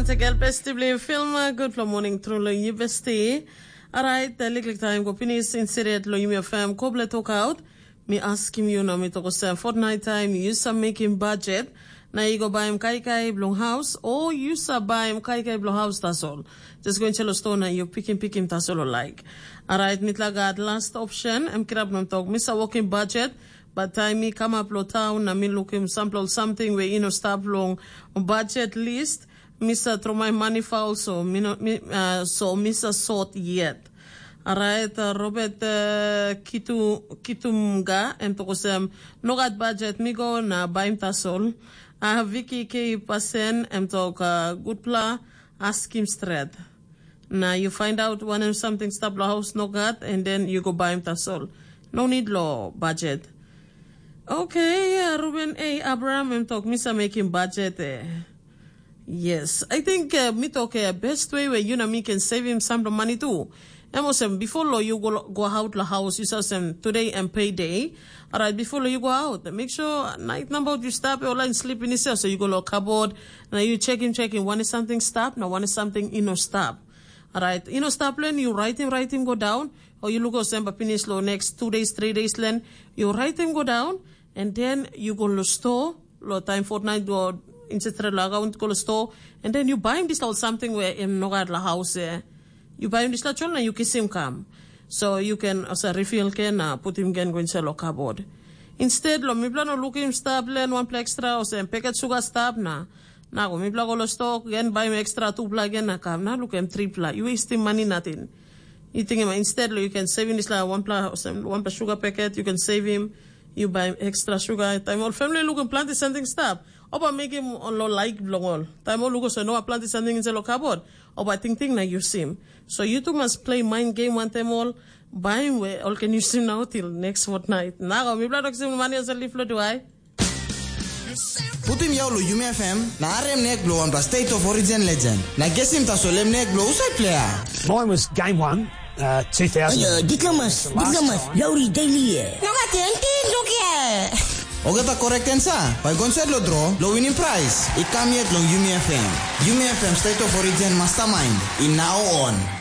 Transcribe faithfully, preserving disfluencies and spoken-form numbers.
Tegel besti bli film, gutpela morning tru long yu besti. Alright, liklik taim go pinis insidet long yumi fam kobla tokaut. Mi askim yu na mi tok olsem, fortnight taim yu sa mekim budget na yu go baim kaikai bilong haus, o yu sa baim kaikai bilong haus tasol. Just go inside lo store na yu pikim pikim tasol o laik. Alright, mitla gat last option, em kirap na tok, mi sa wokim budget, but taim mi kamap lo town na mi lukim sampela ol samting we i no stap long budget list, mi sa tromoi mani fa olso, mi no, mi, uh, so mi sa sot yet. Alright, uh, Robert uh, Kitu, Kitumga, em tok olsem, no gat budget, mi go na baim tasol. Uh, Vicky K. Pasen, em tok, uh, gutpela, askim stret. Na you find out wanem something stap lo house no gat, and then you go baim tasol. No need lo budget. Okay, uh, Ruben A. Abraham, em tok, mi sa mekim budget eh. Yes, I think uh, mi tok uh, best way where you na mi can save him some money too. Em olsem, before lo you go, go out la house, you say olsem, today and payday. Alright, before lo you go out, make sure night number you stop your line sleep in itself. So you go lo cupboard, now you check him, check him. One is something stop, now one is something you know stop. Alright, you know stop len, you write him, write him, go down. Or you look olsem, but finish lo next two days, three days len, you write him, go down, and then you go lo store, lo time fortnight, go inside lo account, go lo store, and then you buy him this little something where him no gat la house eh. You buy him this little children, you kiss him come. So you can also refill can uh, put him again go inside lo cupboard. Instead, lo mipla no look him stop len one plek extra, or say packet sugar stop na. Na go mipla go lo store, again buy him extra two pla again na come. Na look him three pla. You waste him money nothing. You think him instead lo you can save him this like one pla, or some one pla sugar packet, you can save him. You buy extra sugar. Time all family looking plenty something stop. Oba make him on lo like bilong all. Time all look so no plenty something in lo cupboard. Oba ting ting na you see him. So you two must play mind game one time all. Buy him where all can you see him now till next fortnight. Now, mi blood oxygen money as a leaf lo do I? Putim yau lo Yumi F M na arem nek blo wanpela State of Origin legend. Na gesim tasol em nek blo usai player. Mine was game one, uh, two thousand. Ayo, diplomas, diplomas, Lowry Daily. No gat enti, look here. Ogata correct answer. Bai gonset lo draw, lo winning prize. I kam yet long Yumi F M. Yumi F M State of Origin Mastermind. In now on.